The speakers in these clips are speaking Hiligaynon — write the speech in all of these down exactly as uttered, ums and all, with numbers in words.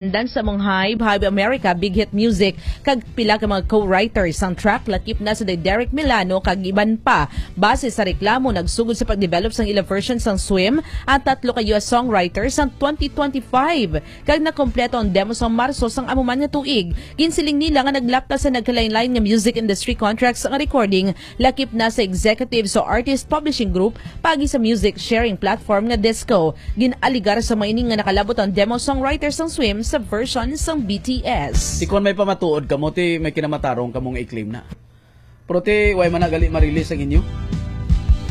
Dansa Mong Hive, Hive America, Big Hit Music, kag pila ka mga co-writers sang track, lakip na si Derek Milano kag iban pa. Base sa reklamo, nagsugod sa pag-develop sang ila version sang Swim ang tatlo ka U S songwriters sang twenty twenty-five, kag nakompleto ang demo sang Marso sang amo man nga tuig. Ginsiling nila nga naglapta sa nagkalain-lain nga music industry contracts ang recording, lakip na sa executive sa Artist Publishing Group paagi sa music sharing platform nga Disco. Gin-aligar sa mga ini nga nakalabot ang demo songwriter sang Swim sa version sang B T S. Ti kon may pamatuod kamo, ti may kinamatarong kamo nga i-claim na. Pero ti, way man na gali ma-release ang inyo.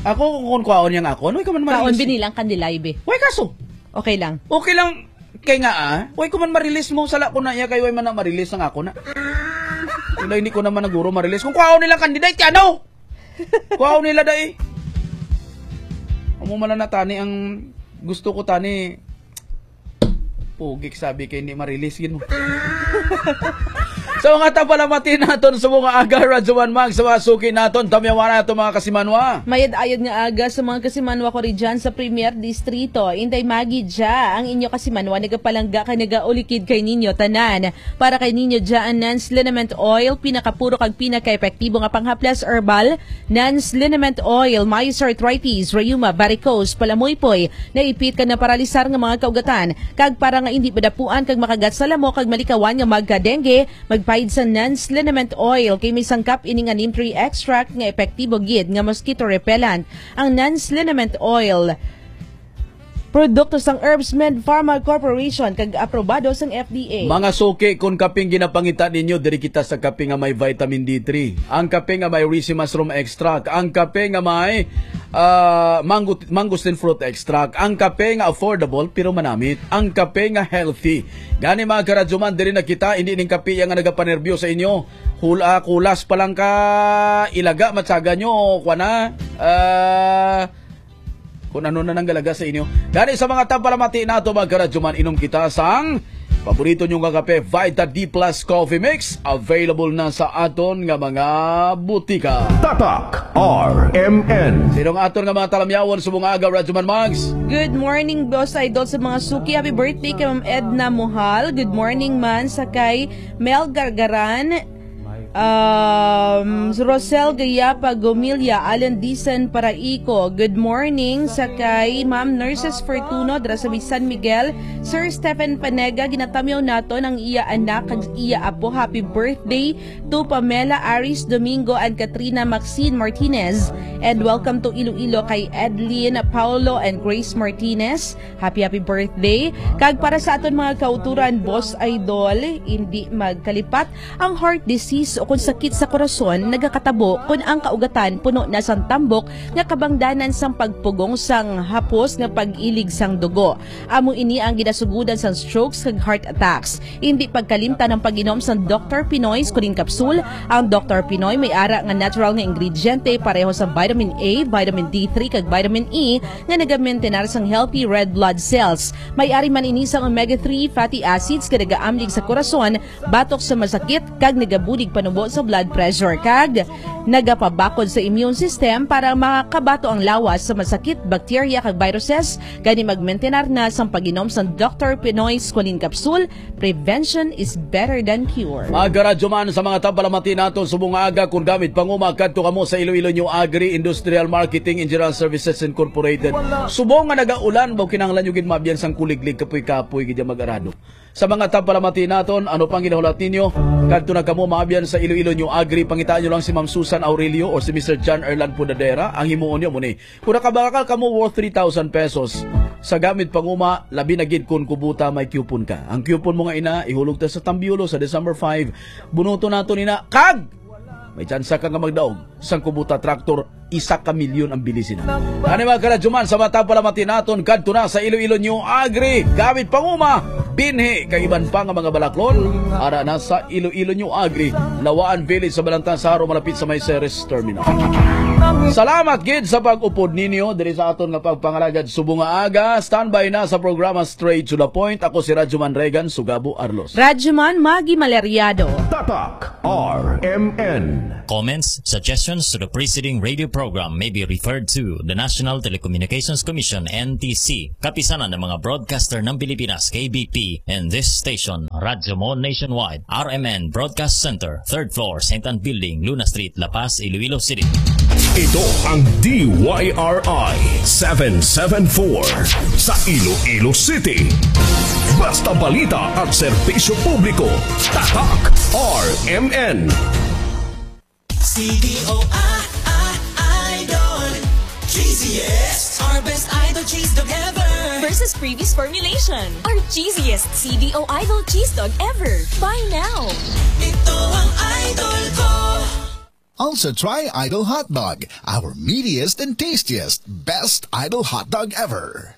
Ako, kung, kung kwaon niya nga ako, ano, way ka man Kaon ma-release? Binilang kandilay, be. Way kaso. Okay lang. Okay lang. Kay nga, ah, way ko man ma-release mo, sala ko na iya, kay way man na ma-release ang ako na. Wala, hindi ko naman naguro ma-release. Kung kwaon nilang candidate, ano? Kwaon nila, dai. Amo man na tani ang gusto ko, tani. Pugik sabi kay hindi ma-release, gid mo. Sa mga tapalamati naton sa mga aga, Radyo Man Mag, sa mga suki naton, tamyawan na itong mga kasimanwa. Mayad-ayad nga aga sa mga kasimanwa ko ri dyan sa Premier Distrito. Inday Maggie dya, ang inyo kasimanwa nagapalangga kay nagaulikid kay ninyo tanan. Para kay ninyo dya ang Nans Liniment Oil, pinakapuro kag pinakaepektibo nga panghaplas herbal. Nans Liniment Oil, maayo sa arthritis, rheuma, varicose, palamuypoy, naipit kag naparalisar nga mga kaugatan, kag para nga indi madapuan kag makagat sa lamok kag malikawan nga magka-dengue, magpaid sa Nans Liniment Oil, kay may sangkap ini nga neem tree extract nga epektibo gid nga mosquito repellent. Ang Nans Liniment Oil, produkto sang Herbsmed Pharma Corporation kag aprobado sang F D A. Mga suki, kung kaping ginapangita ninyo, diri kita sa kape nga may vitamin D three. Ang kape nga may risi mushroom extract. Ang kape nga may, ah, mango-, mangosteen fruit extract. Ang kape nga affordable pero manamit. Ang kape nga healthy. Gani, mga karadyoman, diri na kita, hindi ning kape yang nga nagapanerbyo sa inyo. Hula, kulas pa lang ka ilaga, matsaga nyo, kwa na, ah, kung ano na nanggalaga sa inyo. Gani sa mga tapalamati nato, mga karadyoman, inom kita sang paborito nyo nga kape, Vita D plus Coffee Mix. Available na sa aton nga mga butika. Tatak R M N. Sino nga aton nga mga talamyawon sa mga aga, Radyoman Mags? Good morning, Boss Idol, sa mga suki. Happy birthday kay Ma'am Edna Mohal. Good morning man sa kay Mel Gargaran. Um, Rosel Gayapa Gomilla, Alan Dicen Paraico, good morning. Sa kay Ma'am Nurses Fortuno dira sa may San Miguel, Sir Stephen Panega, ginatamyaw naton ang iya anak kag iya apo. Happy birthday to Pamela Aris Domingo and Katrina Maxine Martinez. And welcome to Iloilo kay Edlin Paulo and Grace Martinez. Happy, happy birthday. Kag para sa aton mga kauturan, Boss Idol, hindi magkalipat ang heart disease o kung sakit sa korason nagakatabo kun ang kaugatan puno na sang tambok nga kabangdanan sang pagpugong sang hapos nga pag-ilig sang dugo. Amo ini ang ginasugodan sang strokes kag heart attacks. Hindi pagkalimtan ang pag-inom sang Doktor Pinoy Squalene Capsule. Ang Doktor Pinoy may ara nga natural nga ingrediente pareho sa vitamin A, vitamin D three kag vitamin E nga nagamentenar sang healthy red blood cells. May ari man ini sang omega three fatty acids nga nagaamlig sa korason batok sa masakit kag nagabulig panubo sa blood pressure kag nagapabakod sa immune system para makabato ang lawas sa masakit, bakterya kag viruses. Gani magmentenar na sang pag-inom sang Doktor Pinoy Squalene Capsule. Prevention is better than cure. Mga karadyoman, sa mga tapalamati nato subong nga aga, kung gamit panguma, kadto kamo sa Iloilo New Agri Industrial Marketing and General Services Incorporated. Subong nga nagaulan, ba kinahanglan nyo gid maabyan sang kuliglig, kapoy-kapoy gid ang mag-arado. Sa mga tapalamati naton, ano pang ginahulat ninyo? Kadto na kamo maabyan sa Iloilo New Agri, pangitaan nyo lang si Ma'am Susan Aurelio or si Mister John Erlan Pudadera. Ang himuon nyo mo ni Kung nakabakal kamo worth three thousand pesos, sa gamit panguma, labi na gid kun kubuta may coupon ka. Ang coupon mo nga ina, ihulog ta sa Tambiolo sa December five. Bunuto nato nina, kag may tsansa ka nga magdaog sang kubuta tractor, isa ka milyon ang bilisin. Ani mga karadyoman, sa matag palamati naton, kadto na sa Iloilo New Agri, gamit panguma, binhi, kag iban pa nga mga balaklon, ara na sa Iloilo New Agri, Lawaan Village sa Balantan, Saro, malapit sa may Ceres Terminal. Salamat gid sa pag-upod ninyo diri sa aton nga pagpangalagad subong nga aga. Standby na sa programa Straight to the Point. Ako si Radyoman Regan Sugabo Arlos. Radyoman Maggie Maleriado. Tatak R M N. Comments, suggestions to the preceding radio program may be referred to the National Telecommunications Commission, N T C, Kapisanan ng mga Broadcaster ng Pilipinas, K B P, and this station, Radyo Mo Nationwide, R M N Broadcast Center, third floor, Saint Ann Building, Luna Street, La Paz, Iloilo City. Ito ang D Y R I seven seven four sa Iloilo City. Basta balita at serbisyo publiko, Tatak R M N. C D O I, I, Idol. Cheesiest. Our best Idol cheese dog ever. Versus previous formulation. Our cheesiest C D O Idol cheese dog ever. Buy now. Ito ang Idol ko. Also try Idol Hot Dog, our meatiest and tastiest, best Idol Hot Dog ever.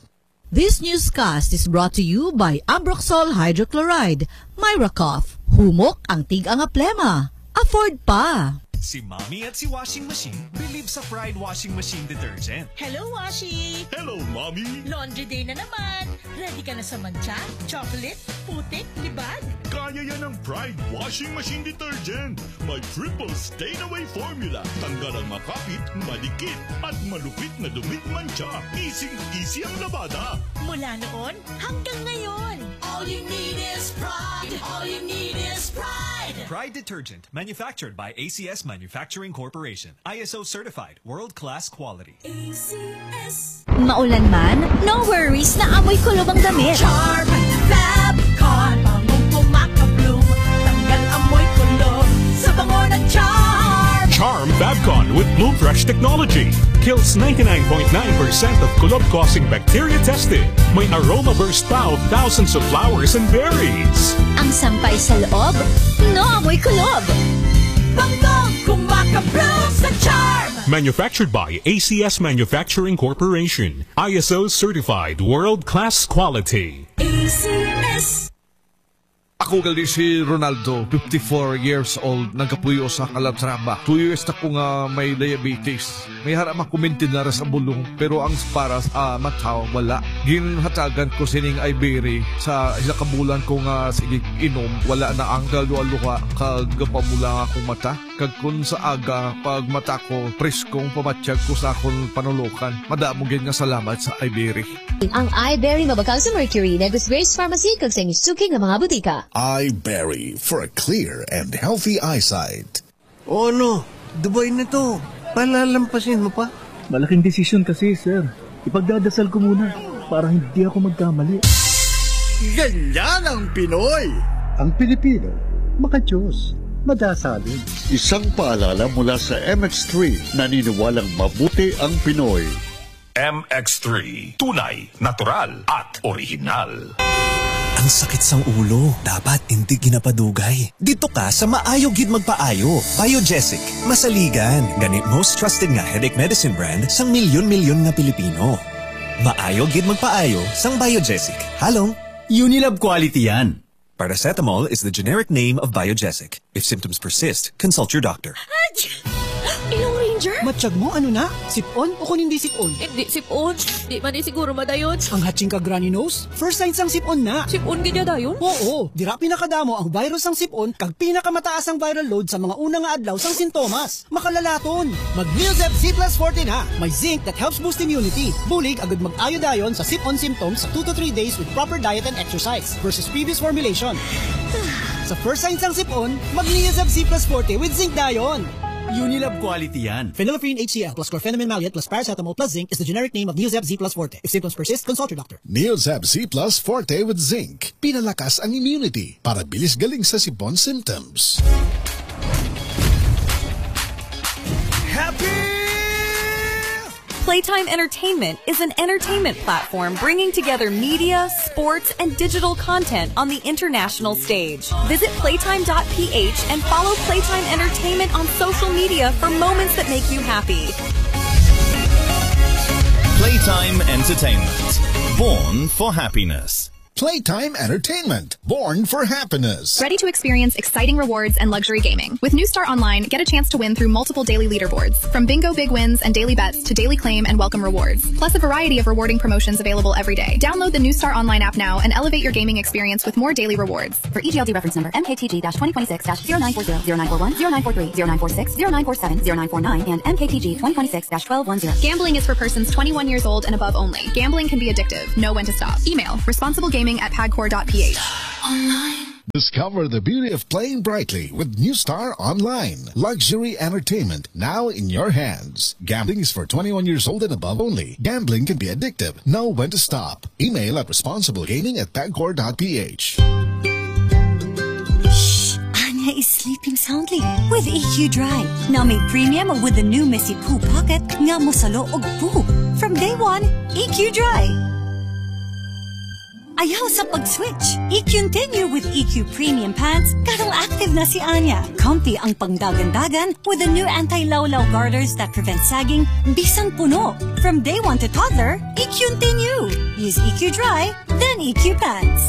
This newscast is brought to you by Ambroxol Hydrochloride, Myra Cough, humok ang tig-a nga plema. Afford pa! Si Mommy at si Washing Machine believe sa Pride Washing Machine Detergent. Hello, Washi! Hello, Mommy! Laundry day na naman! Ready ka na sa mantsa, chocolate, putik, libag? Kaya yan ng Pride Washing Machine Detergent! May triple stain away formula. Tanggal ang makapit, madikit, at malupit na dumi, mantsa. Easy-easy ang labada. Mula noon hanggang ngayon. All you need is pride. All you need is pride. Pride Detergent, manufactured by A C S Manufacturing Corporation. I S O certified, world-class quality. A C S. Maulan man, no worries, na amoy kulob ang damit. Charm Fab Con, bangong kumaka-bloom. Tanggal amoy kulob sa bango ng Charm. Charm Fabcon with Bloom Fresh technology kills ninety-nine point nine percent of kulob-causing bacteria tested. May aroma burst pa of thousands of flowers and berries. Ang sampay sa loob, no amoy kulob. Bangong kumaka-bloom sa Charm. Manufactured by A C S Manufacturing Corporation. I S O certified, world-class quality. A C S. Ako gali si Ronaldo, fifty-four years old, nagapuyo sa Calatrava. Two years na ko nga may diabetes. May hara man ko maintenance sa bulong, pero ang para sa mata, wala. Ginhatagan ko sining Iberry sa isa ka bulan ko nga sige inom, wala na ang kaluha-luha kag pamula nga akong mata. Kag kun sa aga, pag mata ko, preskong pamatyag ko sa akon panulokan. Madamo gid nga salamat sa Iberry. Ang Iberry mabakal sa Mercury, Negros Grace Pharmacy, kag sa inyong suki nga mga butika. Iberry for a clear and healthy eyesight. O ano, Dubai na to. Palalampasin mo pa? Malaking desisyon kasi, sir. Ipagdadasal ko muna para hindi ako magkamali. Ganyan ang Pinoy! Ang Pilipino, makadiyos, madasalin. Isang paalala mula sa M X three, naniniwalang mabuti ang Pinoy. M X three, tunay, natural, at orihinal. Ang sakit sang ulo, dapat indi ginapadugay. Dito ka sa maayo gid magpaayo. Biogesic, masaligan. Gani most trusted nga headache medicine brand sang milyon-milyon nga Pilipino. Maayo gid magpaayo sang Biogesic. Halong Unilab quality yan. Paracetamol is the generic name of Biogesic. If symptoms persist, consult your doctor. Ilong Ranger? Matyag mo, ano na? Sip-on o kung hindi sip-on? Hindi sip-on. Di man eh siguro madayon. Ang hatching kag runny nose? First sign sang sip-on na. Sip-on gid ya dayon? Oo. Dira pinakadamo ang virus sang sip-on kag pinakamataas ang viral load sa mga una nga adlaw sang sintomas. Makalalaton. Mag Neozep C plus forte na. May zinc that helps boost immunity. Bulig agud mag-ayo dayon sa sip-on symptoms sa two to three days with proper diet and exercise versus previous formulation. Sa first sign sang sip-on, mag Neozep C plus forte with zinc dayon. Unilab quality yan. Phenylephrine H C L plus chlorphenamine maleate plus paracetamol plus zinc is the generic name of Neozep Z plus forte. If symptoms persist, consult your doctor. Neozep Z plus forte with zinc. Pinalakas ang immunity para bilis galing sa sip-on symptoms. Happy! Playtime Entertainment is an entertainment platform bringing together media, sports, and digital content on the international stage. Visit playtime dot p h and follow Playtime Entertainment on social media for moments that make you happy. Playtime Entertainment. Born for happiness. Playtime Entertainment, born for happiness. Ready to experience exciting rewards and luxury gaming? With New Star Online, get a chance to win through multiple daily leaderboards, from bingo big wins and daily bets to daily claim and welcome rewards, plus a variety of rewarding promotions available every day. Download the New Star Online app now and elevate your gaming experience with more daily rewards. For E G L D reference number M K T G dash twenty twenty-six dash zero nine four zero, zero nine four one, zero nine four three, zero nine four six, zero nine four seven, zero nine four nine, and M K T G twenty twenty-six dash twelve one zero. Gambling is for persons twenty-one years old and above only. Gambling can be addictive. Know when to stop. Email responsiblegaming at pagcor dot P H. Discover the beauty of playing brightly with New Star Online. Luxury entertainment now in your hands. Gambling is for twenty-one years old and above only. Gambling can be addictive. Know when to stop. Email at responsiblegaming at pagcor dot P H. Shh! Anya is sleeping soundly with E Q Dry. Now made premium with the new Messy Poo Pocket nga mosalo og poo. From day one, E Q Dry. Ayaw sa pag-switch. E Q continue with E Q Premium Pants, karong active na si Anya. Comfy ang pangdagan-dagan with the new anti-lawlaw garters that prevent sagging bisan puno. From day one to toddler, E Q continue. Use E Q Dry, then E Q Pants.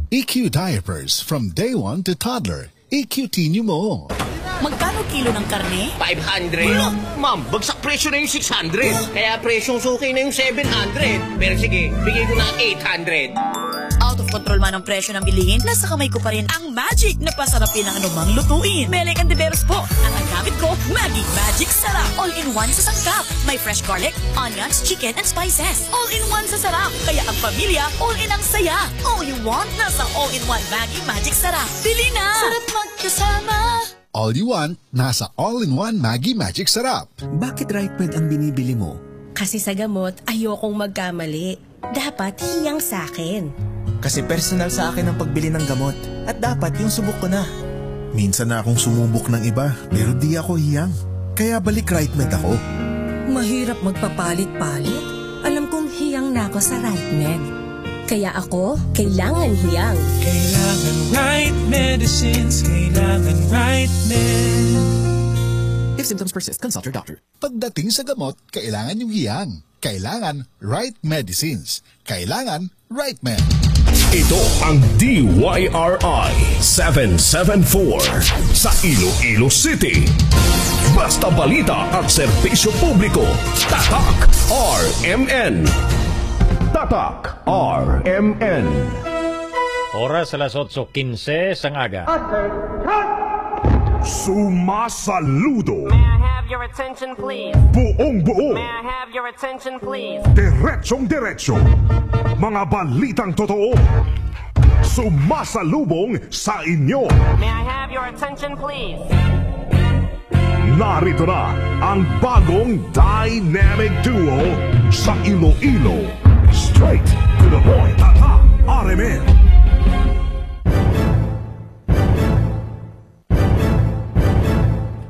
E Q Diapers from day one to toddler. E Q T nyo mo. Magkano kilo ng karne? Five hundred. Wala. Ma'am, bagsak presyo na yung six hundred. Kaya presyong suki na yung seven hundred. Pero sige, bigay ko na eight hundred. Out of control man ang presyo ng bilihin, nasa kamay ko pa rin ang magic na pasarapin ang anumang lutuin. Mele Cantiveros po, at ang gamit ko, Maggi Magic Sarap. All-in-one sa sangkap. May fresh garlic, onions, chicken, and spices. All-in-one sa sarap. Kaya ang pamilya, all-in ang saya. All you want, nasa all-in-one Maggi Magic Sarap. Bili na! Sarap magkasama. All you want, nasa all-in-one Maggi Magic Sarap. Bakit Right Med ang binibili mo? Kasi sa gamot, ayokong magkamali. Dapat hiyang sa akin. Kasi personal sa akin ang pagbili ng gamot. At dapat yung subok ko na. Minsan na akong sumubok ng iba, pero di ako hiyang. Kaya balik Right Med ako. Mahirap magpapalit-palit. Alam kong hiyang na ako sa Right Med. Kaya ako, kailangan hiyang. Kailangan right medicines, kailangan right med. If symptoms persist, consult your doctor. Pagdating sa gamot, kailangan yung hiyang. Kailangan right medicines. Kailangan right med. Ito ang D Y R I seven seven four sa Iloilo City. Basta balita at serbisyo publiko, Tatak R M N. Tatak R M N. Oras alas otso quince sang aga. Sumasaludo. May I have your attention, please? Buong buo. May I have your attention, please? Diretsong diretso. Mga balitang totoo. Sumasalubong sa inyo. May I have your attention, please? Narito na ang bagong dynamic duo sa Iloilo. Straight to the point. Tatak R M N.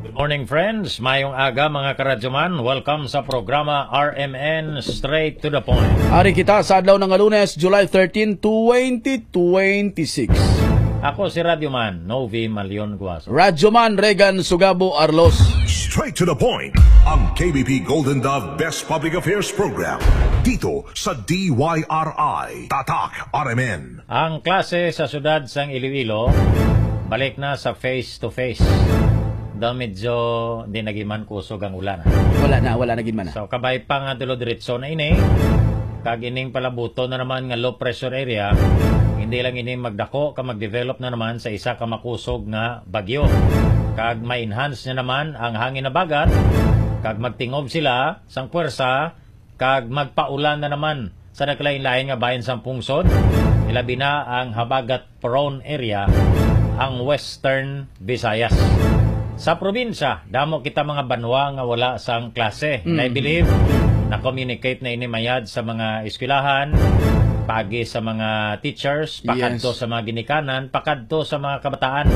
Good morning, friends. Mayong aga, mga karadyoman. Welcome sa programa R M N Straight to the Point. Ari kita sa adlaw nga Lunes, July thirteen, twenty twenty-six. Ako si Radyoman Novi Malion Guaso. Radyoman Regan Sugabo Arlos. Straight to the point. Ang K B P Golden Dove Best Public Affairs Program. Dito sa D Y R I. Tatak R M N. Ang klase sa siyudad sang Iloilo balik na sa face to face. Daw medyo di na gid man kusog ang ulan. Wala na, wala na gid man na. So, kabay pa nga dulo-diretso na ini. Kag ining palabuton na naman nga low pressure area, hindi lang ini magdako ka mag-develop na naman sa isa ka makusog nga bagyo. Kag ma-enhance na naman ang hangin habagat, kag magtingob sila sang puwersa, kag magpaulan na naman sa nagkalain-lain nga bahin sang pungsod, ilabi na ang habagat-prone area, ang Western Visayas. Sa probinsya, damo kita mga banwa nga wala sang klase. Mm. And I believe, na-communicate na ini mayad sa mga eskwelahan, pagi sa mga teachers, pakadto Yes. sa mga ginikanan, pakadto sa mga kabataan,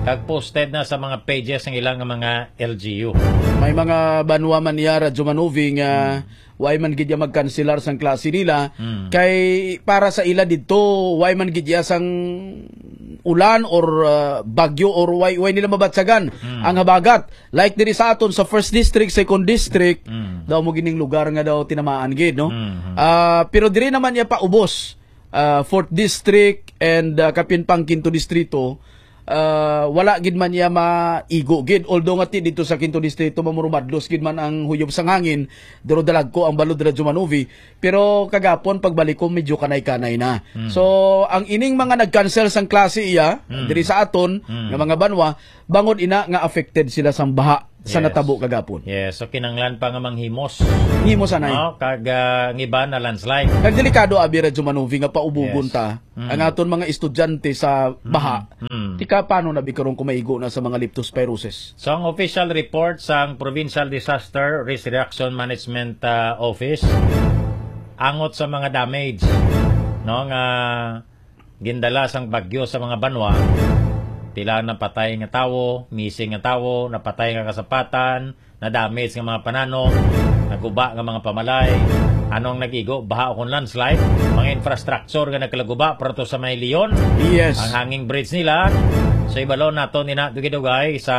kag posted na sa mga pages ng ilang mga L G U. May mga banwa man niya, Radyo Manuvi, nga Mm. way man gid ya magkanselar sang klase nila, Mm. kay para sa ila didto, way man gid ya sang ulan or, ah, bagyo or way, way nila mabatyagan Mm. ang habagat. Like diri sa aton sa first district, second district, Mm. daw mo gining lugar nga daw tinamaan gid, no? Mm-hmm. Ah, pero diri naman ya paubos. ah, fourth District and, ah, kapin pang Quinto Distrito, ah, wala gid man niya maigo gid. Although nga ti dito sa Quinto Distrito, mamurumadlos gid man ang huyob sang hangin, duro dalagko ang balod, Radyo Manuvi. Pero kagapon, pagbalik ko, medyo kanay-kanay na. Mm. So, ang ining mga nag-cancel sang klase iya, Mm. diri sa aton, Mm. nga mga banwa, bangod ina nga affected sila sang baha sa Yes. natabo kagapon. Yes, so kinanglan pa nga manghimos. Himos, anay. No? Kag, ah, ang iba na landslide. Kag delikado, abi, Radyo Manuvi, nga paubugon Yes. ta Mm. ang aton mga estudyante sa Mm. baha. Mm. Tika, paano na bi karon kung maigo na sa mga leptospirosis? So, ang official report sang Provincial Disaster Risk Reaction Management, ah, Office, angot sa mga damage, no, nga gindala sang bagyo sa mga banwa, pila ang napatay nga tawo, missing nga tawo, napatay nga kasapatan, na-damage nga mga pananom, naguba nga mga pamalay. Anong nag-igo? Baha o kon landslide? Mga infrastructure nga nagkalaguba, para to sa may Leon. Yes. Ang hanging bridge nila. So, ibalon naton ina dugay-dugay sa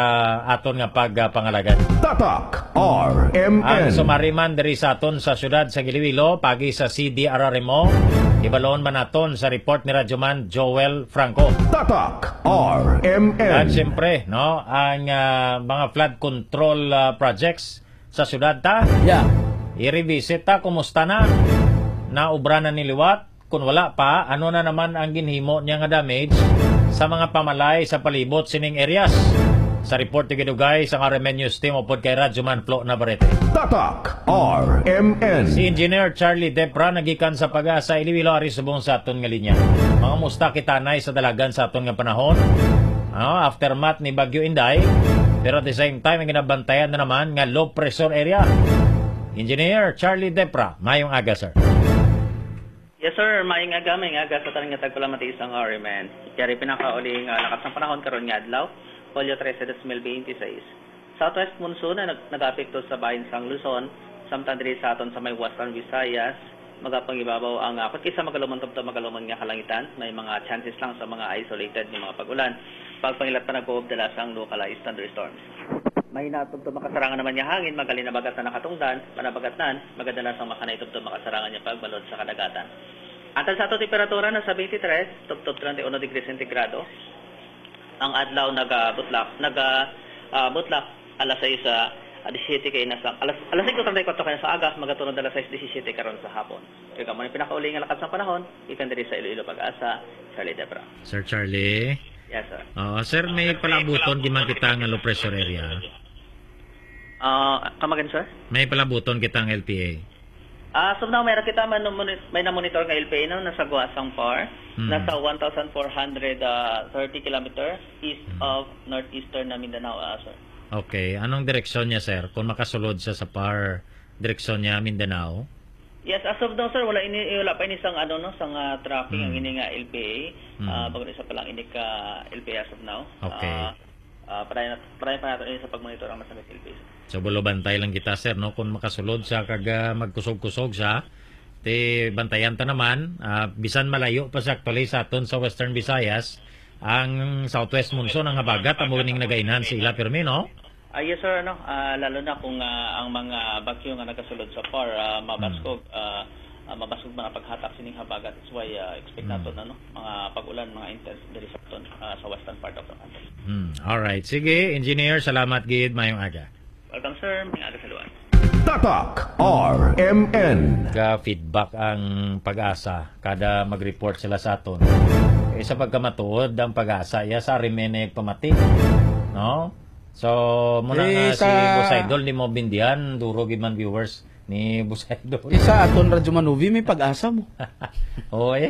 aton nga pagpangalagad. Tatak R M N. Ang sumari man diri sa aton sa siyudad sa Iloilo, pagi sa C D R R M O, ibalon man naton sa report ni Radyoman Joel Franco. Tatak R M N. At siyempre, no, ang, ah, mga flood control, ah, projects sa syudad ta. Yeah. I-revisit ta, kumusta na? Naubra na ni liwat? Kung wala pa, ano na naman ang ginhimo niya nga damage sa mga pamalay sa palibot sining areas? Sa report, tigidugay sang R M N News Team upod kay Radyoman Flo Navarrete. Tatak R M N. Si Engineer Charlie Depra nagikan sa Pag-asa Iloilo ari subong sa aton nga linya. Mga musta kita nay sa dalagan sa aton nga panahon? Ah, aftermath ni Bagyo Inday, pero at the same time, ang ginabantayan na naman nga low pressure area. Engineer Charlie Depra, mayong aga, sir. Yes, sir. Mayong aga, mayong aga sa tanan nga tagpalamati sang R M N. Yari pinakauli nga lakat sang panahon karon nga adlaw, Hulyo trese, dos mil binte seis. Southwest monsoon na nag-, nag-apekto sa bahin sang Luzon, samtang diri sa aton sa may Western Visayas, magapangibabaw ang, ah, kung isa magalumon tubtob magalumon nga kalangitan, may mga chances lang sa mga isolated nga mga pag-ulan. Pagpangilat pa nagkuob dala sang localized thunderstorms. Mahina tubtob makasarangan naman nga hangin, magali na bagat na nakatungdan, panabagatnan, magadala sang makanay tubtob makasarangan nga pagbalod sa kadagatan. Antad sa ato temperatura na sa twenty-three, tubtob treinta y uno degrees centigrado. Ang adlaw nagabutlak, naga, ah, butlak alas sais, ah, disisyete kay nasa, alas, alas singko treinta y cuatro kay nasa aga, magatunod alas sais disisyete karon sa hapon. Kag amo ni pinakauli nga lakat sang panahon, ikan diri sa Iloilo Pag-asa, Charlie Debra. Sir Charlie? Yes, sir. Oo, sir, may palabuton gid man kita nga low pressure area. Ah, come again, sir? May palabuton kita nga L P A. Ah, so now, meron kita man-, moni-, may na-monitor nga L P A, no, nasa Guasang Par, Hmm. nasa one thousand four hundred, ah, thirty kilometer east Hmm. of northeastern na Mindanao, ah, sir. Okay, anong direksyon niya, sir? Kung makasulod siya sa Par, direksyon niya Mindanao? Yes, as of now, sir, wala ini, wala pa ini sang, ano, no, sang, ah, tracking ang Hmm. ini nga L P A. Hmm. Ah, bag-o na isa pa lang ini ka L P A as of now. Okay. Ah, ah, padayon nat-, padayon pa nato ini sa pagmonitor ang masamit L P A, sir. So, bulo bantay lang kita, sir, no? Kung makasulod siya kag, ah, magkusog-kusog siya, ti bantayan ta naman, ah, bisan malayo pa siya actually sa aton sa Western Visayas, ang southwest monsoon, ang habagat, amo ning nagainhan sa ila, pirmi, no? Ah, yes, sir, ano, ah, lalo na kung, ah, ang mga bagyo nga nagasulod sa Par, ah, mabaskog, Hmm. ah, ah, mabaskog mga paghatak sining habagat. That's why, ah, expect Hmm. naton, ano, mga pag-ulan, mga intense diri sa aton, ah, sa western part of the country. Hmm. Alright. Sige, engineer, salamat gid. Mayong aga. Welcome, sir. Mayong aga sa luwas. Tatak R M N. Ga-feedback ang Pag-asa kada mag-report sila sa aton. Eh, sa pagkamatuod, ang Pag-asa, iya sa R M N ay pamati. No? So, muna Eh, nga si sa Boss Idol, di mo bindihan, duro gid man viewers ni Boss Idol. Eh, sa aton Radyo Manuvi, may Pag-asa mo. Oo, eh.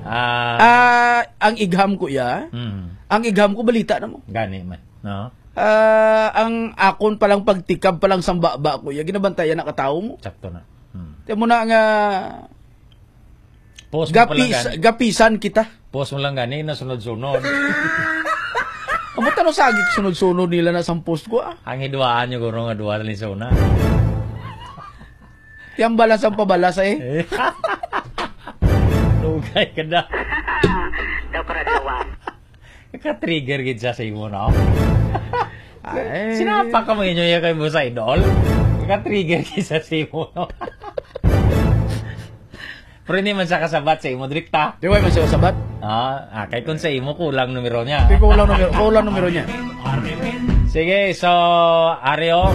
Ah. Ah, ang igham ko, ya. Mm. Ang igham ko, balita na mo. Gani man, no? Ah, ang akon palang pagtikab palang sang baba ko, ya, ginabantayan na katawo mo. Sakto na. Hmm. Tiyan mo na nga, Post mo pala gapis-, gani. Gapisan kita. Post mo lang gani, nasunod-sunod. Amo, tano sagi sunod-sunod nila na sang post ko, ah. Ang hiduaan nyo, guro, nga duwa na lisona. Tiyambalan sang pabalas, eh. Eh. Dugay ka na. Daw karadawan. Ka-trigger gid siya sa imo, no? Ay. Sinapa ka mo inyo ya kay Boss Idol? Ka-trigger gid siya sa imo, no? Pero hindi man siya kasabat sa imo, Drik, ta? Di, wa man siya kasabat. Ah, ah, kay kung sa imo, kulang numero niya. Di, kulang numero, kulang numero niya. Sige, so, Ario,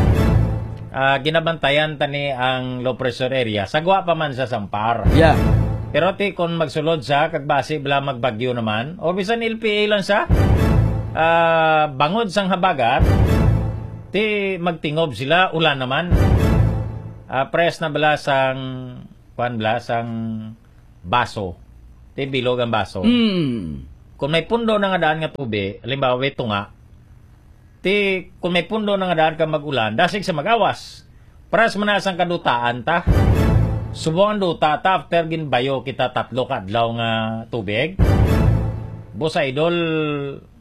ah, ginabantayan tani ang low pressure area. Sagwa pa man sa Sampar. Yeah. Pero ti, kung magsulod siya, kag basi bala magbagyo naman, o bisan L P A lang siya, ah, bangod sang habagat, ti magtingob sila, ulan naman. Ah, press na bala sang, kuwan bala, sang baso. Ti bilog ang baso. Mm. Kung may pundo na nga daan nga tubi, halimbawa, may tunga, ti, kung may pundo na nga daan ka mag-ulan, dasig sa mag-awas. Paras man na sang kadutaan ta. Subong ang duta ta, after ginbayo kita tatlo ka adlaw nga tubig. Boss Idol,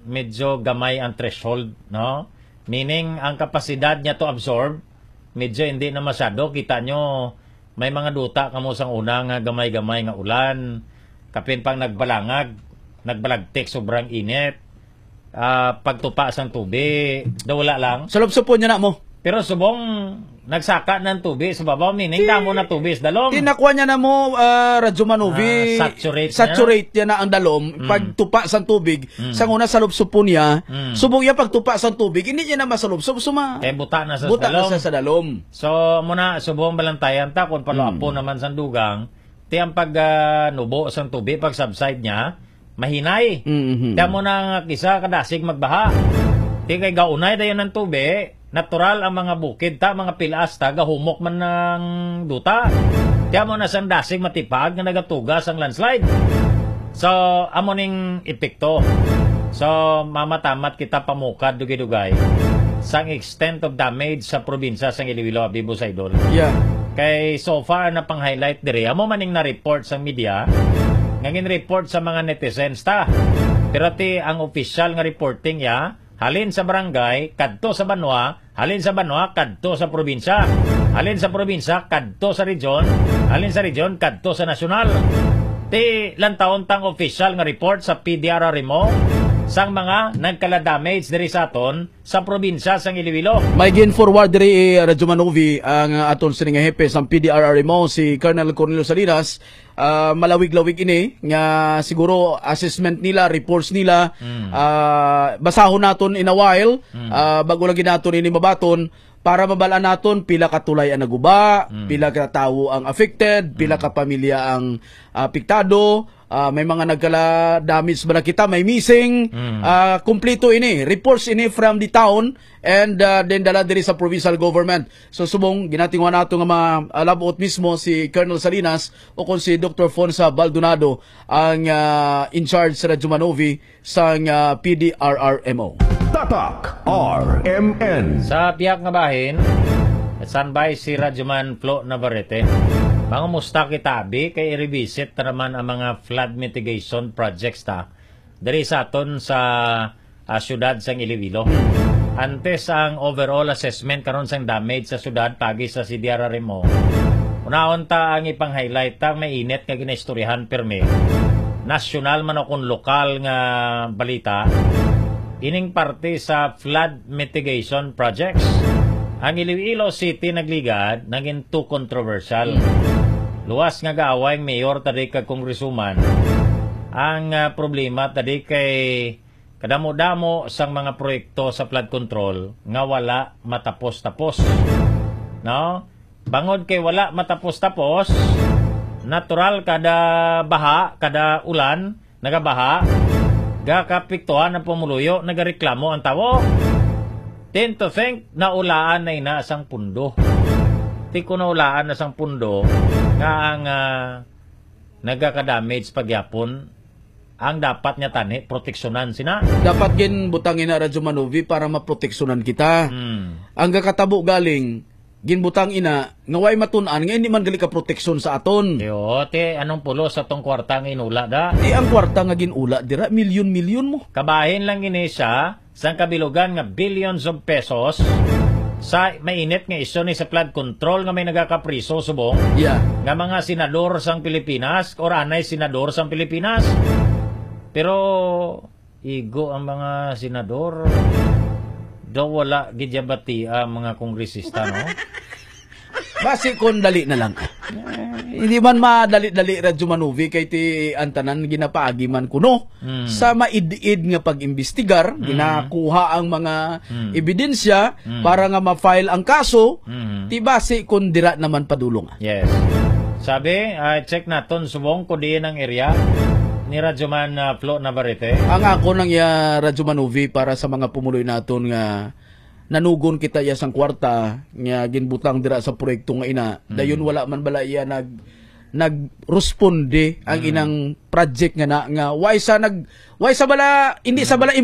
medyo gamay ang threshold, no? Meaning, ang kapasidad niya to absorb, medyo hindi na masyado. Kita nyo, may mga duta kamo sang una nga gamay-gamay nga ulan, kapin pang nagbalangag, nagbalagtik, sobrang init, ah, pagtupa sang tubi, daw wala lang. Salubsupon niya na mo. Pero subong, nagsaka na ang tubi sa babaw, meaning Ti-, damo na tubi sa dalom. Tinakuha niya na mo, ah, Radyo Manovi. Ah, saturate na. Saturate niya na ang dalom. Mm. Pagtupa sang tubig, Mm. sang una salubsupon niya, Mm. subong niya pagtupa sang tubig, hindi niya na masalubsob, suma-, Kay buta na sa buta na dalom. sa, sa dalom. So, amo na, subong balantayan ta kung paluapon Mm. naman sang dugang, ti ang pag, ah, nubo sang tubi, pag subside niya, mahinay. Mm-hmm. Ti amo na nga kisa kadasig magbaha. Ti kay gaunay dayon ang tubi, natural ang mga bukid ta, mga pilas ta, gahumok man ang duta. Ti amo na sang dasig matipaag nga nagatuga sang landslide. So, amo ning epekto. So, mamatamat kita pamukad dugay-dugay sang extent of damage sa probinsya sang Iloilo, abi, Boss Idol. Yeah. Kay so far na pang-highlight diri, amo man ning na-report sa media, nga gin-report sa mga netizens ta. Pero ti ang official nga reporting ya, halin sa barangay kadto sa banwa, halin sa banwa kadto sa probinsya, halin sa probinsya kadto sa region, halin sa region kadto sa nasyonal. Ti lantawon tang official nga report sa P D R R M O sang mga nagkala-damage diri sa aton sa probinsya sang Iloilo. May gin-forward diri, eh, Radyo Manovi, ang, ah, aton sini nga hepe sang P D R R M O, si Colonel Cornelio Salinas. Ah, malawig-lawig ini nga siguro assessment nila, reports nila, Mm. ah, basahon naton in a while, Mm. ah, bago lagi naton ini mabaton para mabal-an naton pila ka tulay ang naguba, Mm. pila ka tawo ang affected, pila Mm. ka pamilya ang apektado, ah, may mga nagkala-damage ba na kita, may missing, Mm. ah, kompleto ini, reports ini from the town, and, ah, then dala diri sa provincial government. So, subong, ginatinguha nato nga ma-, ah, labot mismo si Colonel Salinas o kung si Doktor Fonsa Baldonado ang, ah, in charge sa Radyo Manovi sang, ah, P D R R M O. Tatak R M N. Sa pihak nga bahin, standby si Radyoman Flo Navarrete. Mangumusta kita, abi, kay i-revisit ta naman ang mga flood mitigation projects ta diri sa aton sa, ah, siyudad sang Iloilo. Antes ang overall assessment karon sang damage sa siyudad pagi sa C D R R M O, unahon ta ang ipang-highlight ta ang mainit nga ginaistoryahan pirmi, nasyonal man o kon lokal nga balita, ining parte sa flood mitigation projects. Ang Iloilo City nagligad, naging too controversial. Hmm. Luwas nga gaaway ang mayor tadi kag congresswoman. Ang, ah, problema tadi kay kadamo-damo sang mga proyekto sa flood control nga wala matapos-tapos. No? Bangod kay wala matapos-tapos, natural kada baha, kada ulan, nagabaha, gakapiktuhan ang pumuluyo, nagareklamo ang tawo. Tend to think, naulaan na ina sang pundo. Ti ko naulaan na sang pundo nga ang, ah, nagaka-damage pagyapon, ang dapat niya tani, proteksyonan sina. Dapat ginbutang ina Radyo Manovi para maproteksyonan kita. Hmm. Ang gakatabo galing, ginbutang ina nga way matun-an nga hindi man gali ka proteksyon sa aton. Yo, te, anong pulos sa tong kwarta nga inula da? Di ang kwarta nga ginula dira, milyon-milyon mo. Kabahin lang ini siya, sang kabilugan nga billions of pesos sa mainit nga isyu ni sa flood control nga may nagakapriso subong Yeah. nga mga senador sang Pilipinas or anay senador sang Pilipinas. Pero igo ang mga senador. Daw wala gid ya bati ang mga kongresista, no? Basi kon dali na lang. Eh, Hindi man madali-dali, Radyo Manuvi, kay ti ang tanan ginapaagi man kuno Mm. sa maid-id nga pag-imbestigar, Mm. ginakuha ang mga Mm. ebidensya Mm. para nga ma-file ang kaso, Mm. ti basi kung dira naman padulong. Yes. Sabi, ah, check naton subong kung diin ang area ni Radyoman, ah, Flo Navarrete. Ang ako nang iya, Radyo Manuvi, para sa mga pumuloy naton nga nanugon kita iya sang kwarta nga ginbutang dira sa proyekto nga ina. Mm. Dayon wala man bala iya nag nagresponde ang Mm. inang project nga na, nga why sa nag why sa bala hindi sa Mm. bala